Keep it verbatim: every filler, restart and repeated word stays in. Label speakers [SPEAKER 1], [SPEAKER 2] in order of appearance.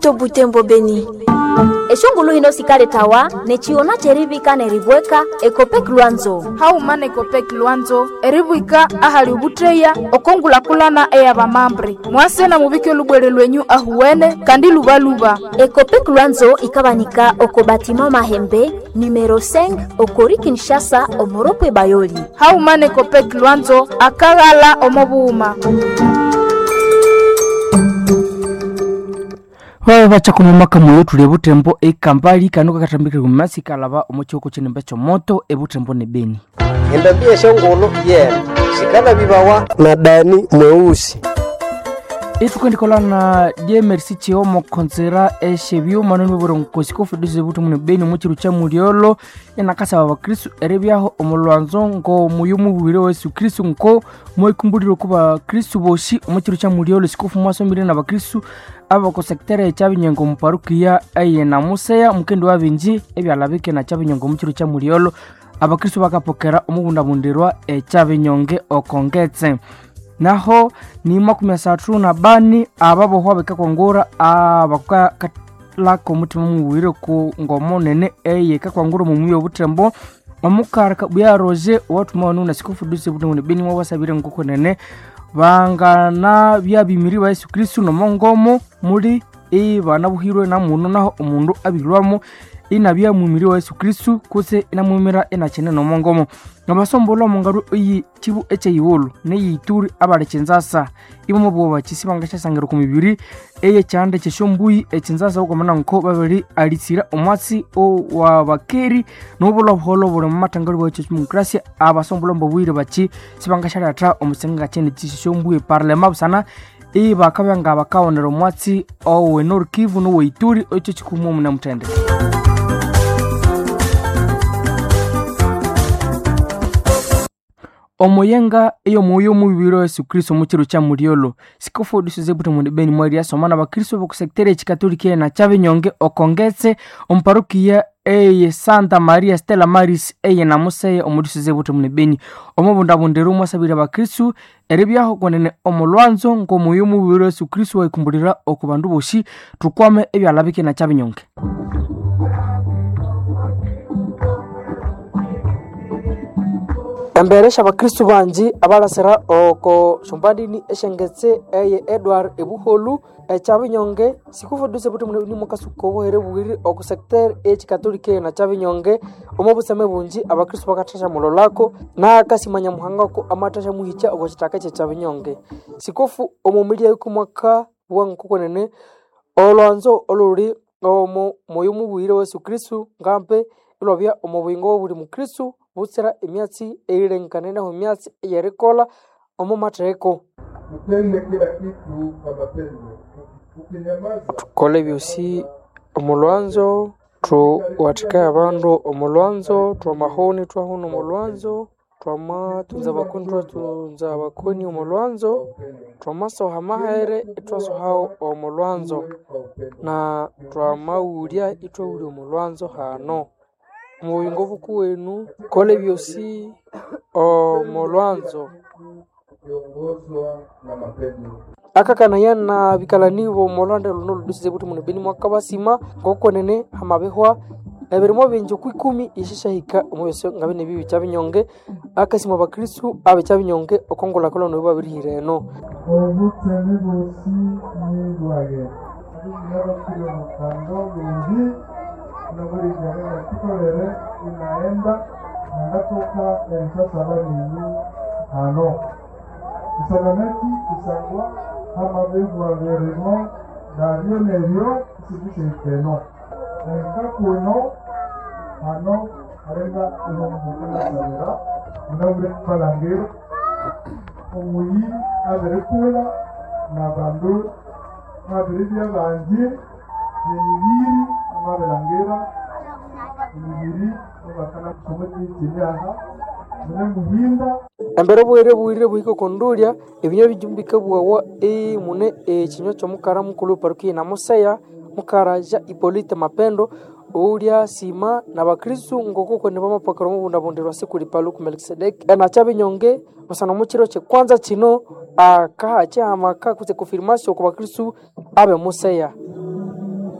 [SPEAKER 1] Moto Butembo Beni.
[SPEAKER 2] Eshongulu hino sikaletawa nechiona cherivika neribweka Ekopek Lwanzo.
[SPEAKER 3] Hauma nekopek Lwanzo eribwika ahali ubutreya okongulakulana eyabamambre mwase na mubike lubwere lwenyu ahuwene kandi lubaluba.
[SPEAKER 2] Ekopek Lwanzo ikabanika oko batima Mahembe numero cinq okori Kinshasa omoropwe Bayoli.
[SPEAKER 3] Hauma nekopek Lwanzo akaghala omobuuma.
[SPEAKER 4] Babe bacha kumamaka moyo tuli ebutembo ekambali kano kakatambikire kumasi kalaba omukyoko kyenembe kyomoto ebutembo ne Beni.
[SPEAKER 5] Endambia eshongolo yena sikala bibawa na Dani mweusi.
[SPEAKER 4] Itukendikolana na D M R C chiomo konzera eshebyuma nonibwere nkosi kofudisa ebutembo ne Beni omukiru kya mulyolo enakasaba abakristu eribyaho omulwanzo ngo muyu mubwire wa Yesu Kristu nko mwekumbulire ku bakristu bosi omukiru kya mulyolo. Sikofu mwasomire na bakristu abakosekitera ekyabinyongo mu parukiya eye namuseya mukendi wabinji ebyalabike na kyabinyongo omukiru kya mulyolo. Abakristu bakapokera omubundabundirwa ekyabinyonge okongetse naho ni makumi asathu na bani ababohwa bekakwangura abakalaka omutima mubwire ku ngomo nene eye kakwangura omumuyi obutembo omukara Kabuya Roger owathuma wanu na sikofu duse butembo ne Beni mwabasabire nkoko nene bangana byabimiri ba Yesu Kristu nomongomo muli ibana buhirwe na muno naho omundu abilwamo inabya mumiri wa Yesu Kristu kutse inamwimira inakene nomongomo ngabasombola omungaru iyi kibu ekyeyiwulu neyituri abali kinzasa ibomo bwoba kisi bangasyasangira ku mibiri eye kyanda kyesyombuyi ekinzasa okwamana nko babiri alitsira omwatsi wa bakeri nobulwa buholo buli mumatangalo bwa demokrasia. Abasombola mbobwire baki sibangasyaletha omusenga kyene kyisyombui parlema busana ibakabya nga bakawonera omwatsi owe Nord Kivu nowe Ituri ekyo kikumu omuna mutende. Omuyenga ey'omwoyo omubiri wa Yesu Kristo omukiro kya mulyolo sikofu disize butembo ne Beni mweri asoma na bakristo bokusekitera ekikatolika na kyabinyonge okongetse omuparukiya eye Santa Maria Stella Maris eye namuseye omudisize butembo ne Beni omubundabundira omwasabire abakristu eribyaho kwenene omulwanzo ng'omwoyo omubiri wa Yesu Kristo waikumbulira oku bandu bosi tukwame ebyalabike na kyabinyonge. Embere syabakristu banji abalasira oko syombandini esyengetse eye Edward ebuholu ekyabinyonge sikufuduse buti mune mukasuka obuhere bubiri oku secteur ekikatolika na kyabinyonge omo buseme bunji abakristu bakathasya mulolako nakasimanya muhangako amathasya muhikya oko kitaka kyekyabinyonge. Sikofu omumilia yuku mwaka wa nkokonene olwanzo oluli omo moyo mubwire wa Yesu Kristu ngampe ilwabya omo buyingo bwa buli mukristu butsira emyatsi eyilenganeneho emyatsi eyerikolha omo matheko.
[SPEAKER 6] Mupende kila kitu kwa mapendo. Ukinyamaza
[SPEAKER 4] Thukole ebyosi omulwanzo, thuwathikaye abandu omulwanzo, twamahoni ithwahona omulwanzo, twamathunza abakoni ithwathunza abakoni omulwanzo, twamasoha amahere ithwasohawo omulwanzo, na twamaghulya ithwaghulya omulwanzo hano. Omubuyingo bukuwenu kola ebyosi omulwanzo.
[SPEAKER 6] ukiongozwa na mapendo.
[SPEAKER 4] Akakanaya na bikalani bomolwanda luno ludisize buti muno Beni mwakabasima ngokonene hamabihwa ebirimo bingi okwikumi ishisyahika omubyosi nga bine bibi kyabinyonge. Akasima abakristu abekyabinyonge okongulhakulhana oyo babirihira eno.
[SPEAKER 6] Obutseme bosi nibwage nabakire mukando lungi nabulijana tukolere inaenda nangatoka erisasaba ninyu hano isalameti isangwa hamabihwa birimo nabyo neryo isibiseikeno enkakuno hano arenga ihomukanasabira munabure balangiro omuyi abirikula nabandu babiribya bangi emibiri amabilangira emibiri ebakana kusoma aha mune muhinda.
[SPEAKER 4] Embere obuhere buwirire buhike okondulya ebinywa bijumbi bikabuwawa mune ekinywa kyomukara mukulhu weparukiya namuseya mukaraja Ipolite Mapendo oulya sima nabakristu ngokokoni bamapokera omubundabundirwa sikuli Paluku Melkisedeki enakyabinyonge busana omukiro kyekwanza kino akaha kyihamaka kutse confirmation okwa bakristu abe museya.